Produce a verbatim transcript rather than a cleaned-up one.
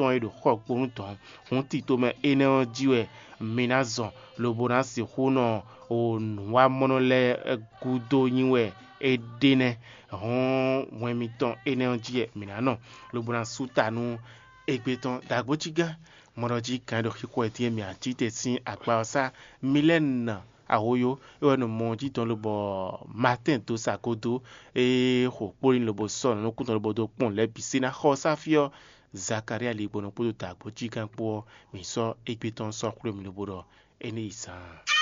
tɔn e ɖo xɔgbónu tɔn hǔn tito mɛ énɛ́ ɔ́ jí wɛ mi ná zɔn, lobo ná sixú nɔ nǔwamɔnɔ lɛ́ɛ gúdo nyi wɛ é ɖe nɛ́. Hɔn hwɛn mitɔn énɛ́ ɔ́ jí wɛ mǐ ná nɔ, lobo ná sú ta nú égbé tɔn ɖagbo jí gán. Mɔɖɔ jí gǎn ɖo xixo e dín e mǐ ná cí te sín akpa ɔ́ sá Milɛ́nu ahoyó, é wɛ nɔ mɔ jí tɔn lobɔ Matín dó sa godo, é xo kpóɖin lobo sɔ́ nǔ nukún tɔn lobo dó kpɔ́n lɛ̌ bǐ sé ná xɔ sá fí ɔ́, Zakalía ligbɔnɔ kpódó dǎgbó cí gán kpó ɔ́, mǐ sɔ́ égbé tɔn sɔ́ xwlé mì lobo ɖɔ é ní yi zaan.